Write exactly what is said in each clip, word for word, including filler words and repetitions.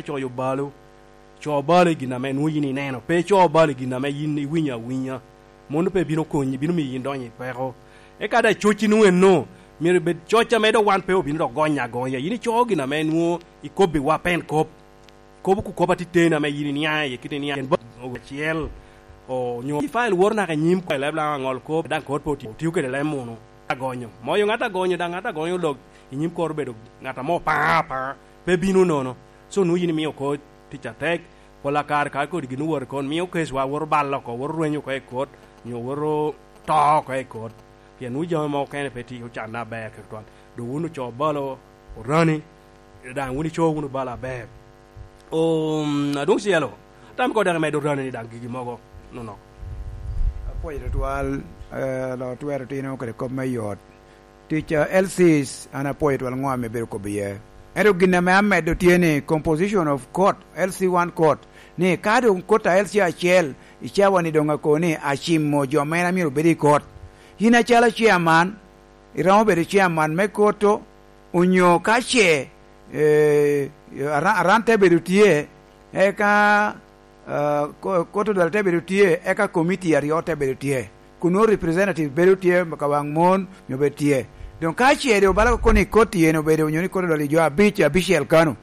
Coyo balo, co balo i gin ame nwoŋo yin ineno, pe co balo i gin ame yin iwinyo awinya. Mano pe bino konyi, bino miyo yin donyo i peko. Eka daŋ cocci nwoŋo enno, myero ebed coc ame dok wan pe obino dok gonyo agonya. Yin ico gin ame nwoŋo ikobbiwa pen kop. Kobo ku kop atiteni ame yin iniaŋ iye kit iniaŋ, pien ba-, acel, o, onyo i fayil woro naka i nyim ko, i leb Laŋo aŋol kop, daŋ kot pe otio, otio kede leb munu. Agonyo. Moyo ŋat agonyo, daŋ ŋat agonyo lok i nyim kot obedo ŋat ame opaŋa apaŋa, pe bino nono. So, nwoŋo yin imio kot tic atek, pol a kare ka kodi gin owot i kot, mio keswa woto balo oko, woto rwenyo oko i kot, onyo woto to oko i kot. Pien nwoŋo jami mogo okene pe tye ocanne aber tutwal. Dok wun oco balo orani, daŋ wun ico wunu balo aber. Um, adwoŋ cielo, tam ko daŋ imedo orani ni daŋ gigi mogo nonok. Apwoyo tutwal, eh, lo twero tino kede kop me yot. Tic, eh, L Cs, an apwoyo twal ŋo ame ibedo kobo iye. Ento gin ame amedo tye ni composition of court, L C one court, ni ka doŋ court a L C acel, i cawa ni doŋ ako ni acimo jo mene a myero obed i court. Yin acalo chairman, iromo bedo chairman me court-to, onyo ka ce, eh, aran, aran te bedo tye, eka, eh, ko-, court odwal te bedo tye, eka committee aryo te bedo tye. Kun nwoŋo representative bedo tye ka waŋ mon, nyo bedo tye. Doŋ ka ce doŋ bala kono i court yen obedo, onyo ni court odwal i jo abic, abicel kano,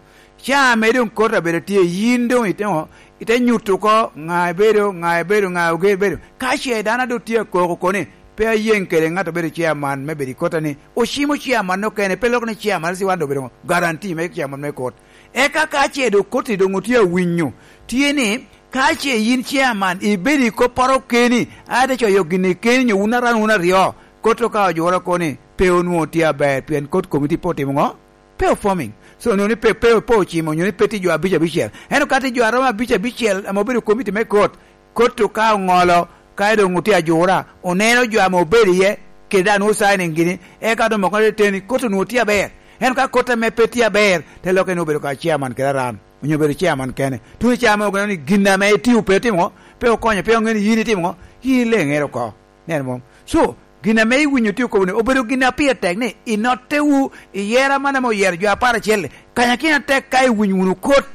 ca ame doŋ court abedo tye, yin doŋ ite ŋo? Ite nyuto oko ŋa ibedo, ŋa ibedo, ŋa oger bedo. Ka ce dano a doŋ tye akoko kono ni, pe ayeŋ kede ŋat obedo chairman me bedo i court-ta ni, ocimo chairman okene, pe loko ni chairman, ci wan doŋ obedo ŋo? Guarantee me chairman me court. Eka ka ce doŋ court-ti doŋ otye awinyo, tye ni, ka ce yin chairman ibedo i kopporo keni, a ite coyo gin i keni, nyo wun aran wun aryo, court-to ka ojuro kono ni, pe onwoŋo tye aber, pien court committee pe otimo ŋo? Pe o forming. So, onwoŋo ni pe, pe, pe ocimo, onyo ni pe tye jo abic abicel. Ento ka tye jo a romo abic abicel ame obedo i komiti me court, court-tu ka oŋolo, ka doŋ otye ajura, oneno jo ame obedo iye, kede daŋ nwoŋo signing gini, eka doŋ moko te teni, court onwoŋo tye aber. Ento ka court ame pe tye aber, te lokke ni obedo ka chairman kede aran, onyo obedo chairman kene. Tuno i ca ame oneno ni gin ame itio pe itimo ŋo, pe okonyo, pe oŋeo ni yin itimo ŋo, yin ileŋere oko. Neno mom? So, gin ame iwinyo tye okobo ni, obedo gin a pire tek ni, inotte wu, i yero man ame oyero jo apar acel-li, kanyakino atek ka iwinyo wunu kot,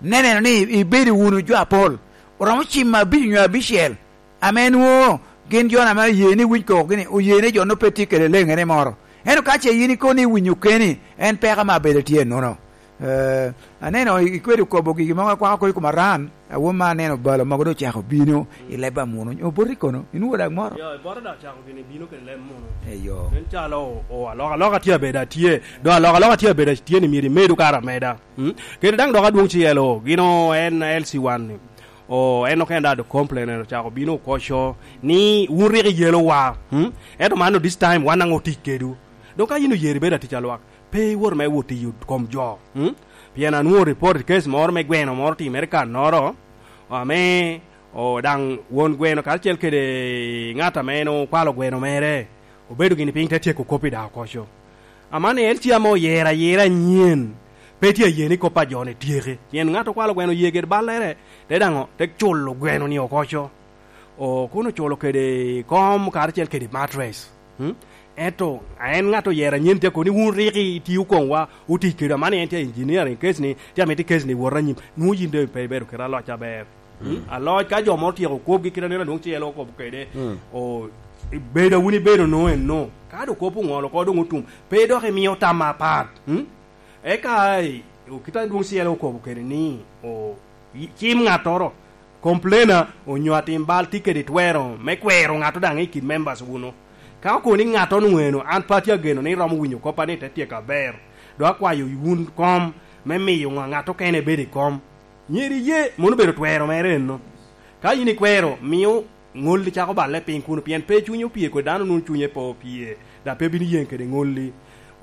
ne neno ni ibedo wunu jo apol. Oromo cimo abic onyo abicel, ame nwoŋo gin jo ame oye ni winyo koko gini, oye ni jo-nu pe tye kede leŋere moro. Ento ka ce yin ikobo ni iwinyo keni, en peko ame abedo tye ennono. Eh, aneno i-, ikwedo kobo gigi mogo akwako kodi i kom aran, awom ma aneno balo mogo doŋ ocako bino i leb amuno. Oboti kono, inwoŋo daŋ moro? Yo, bota daŋ ocako gini bino kede leb muno. Eyo. En calo o, o, alokaloka tye abedo atye, doŋ alokaloka tye abedo atye ni myero imedo kara ameda. Mm? Kede daŋ dok adwoŋ cielo, gino en L C one ni. O, en okene daŋ doŋ complain ocako bino okoco ni wun rik iyelowa. Mm? Ento man this time wan daŋ otic kedwu. Doŋ ka yin oyero ibedo atic alwak, pe iwot me wot i kom jo, mm? Pien anwoŋo report case moro me gweno moro otimere i kannoro, ame, o, daŋ won gweno karacel kede ŋat ame en okwalo gweno mere, obedo gini piny te tyeko kop i daŋ okoco. Aman en tye ame oyero ayera anyen, pe tye aye ni kop a jo-ni tyeke. Pien ŋat okwalo gweno oye kede ballere, te daŋ o-, te culo gweno-ni okoco. O, kun oculo kede kom karacel kede mattress. Hmm? Ento, a en ŋat oyero anyen tye kono ni wun rik itio koŋwa, otic kede aman en tye engineering case ni, tye amito case ni wot anyim. Nwoŋo yin doŋ pe ibedo kede aloc aber. Hmm? Aloc ka jo moro tyeko kwobgi kit aneno adwoŋ cielo okobo kede. Hmm. O, bedo a wun ibedo no en no. Ka doŋ kop oŋolo oko doŋ otum, pe dok imio tam apat. Hmm? Eka, i, kit adwoŋ cielo okobo kede ni, o, i-, cim ŋattoro, complainer, onyo atim bal tye kede twero me kwero ŋatto daŋ i kin members wunu. Ka okobo ni ŋattoro onwoŋo eno, an pe atye ageno ni iromo winyo koppa ni te tyeko aber. Dok akwayo wun kom me miyo ŋa-, ŋat okene bedo i kom. Myero iye, mano obedo twero mere eno. Ka yin ikwero, mio ŋolli cako balle piny kuno, pien pe cunye opye kodi, dano nwoŋo cunye pe opye, dok pe bino yeŋ kede ŋolli.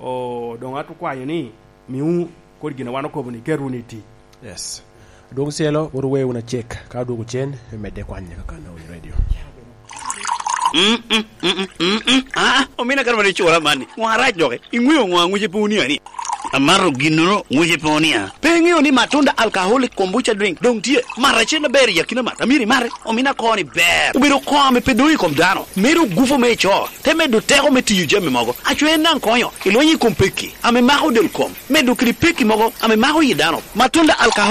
O, doŋ ato kwayo ni, miwu kodi gin a wan okobo ni, ket wunu i tic. Yes. Adwoŋ cielo, wot wuwe wunu acek, ka odwogo cen, imedde kwanye kaka Nowi Radio. Mm, mm, mm, mm, mm, mm. Ah, omina kara mani cura mani. Ŋo arac doki? Iŋweo ŋo aŋwice pe wuni ani? Amato ginnono, ŋwice pe wuni a? Pe iŋeo ni Matunda Alcoholic Kombucha Drink doŋ tye? Mat acel aber i akina mat. Amyero imate. Omina koni ber. Obedo koŋ ame pe doŋ i kom dano. Medo gufu me ico. Te medo teko me tiyo jami mogo. Aco en daŋ konyo. Ilwenyo i kom pekki ame mako del kom. Medo kede pekki mogo ame mako yi dano. Matunda Alcoholic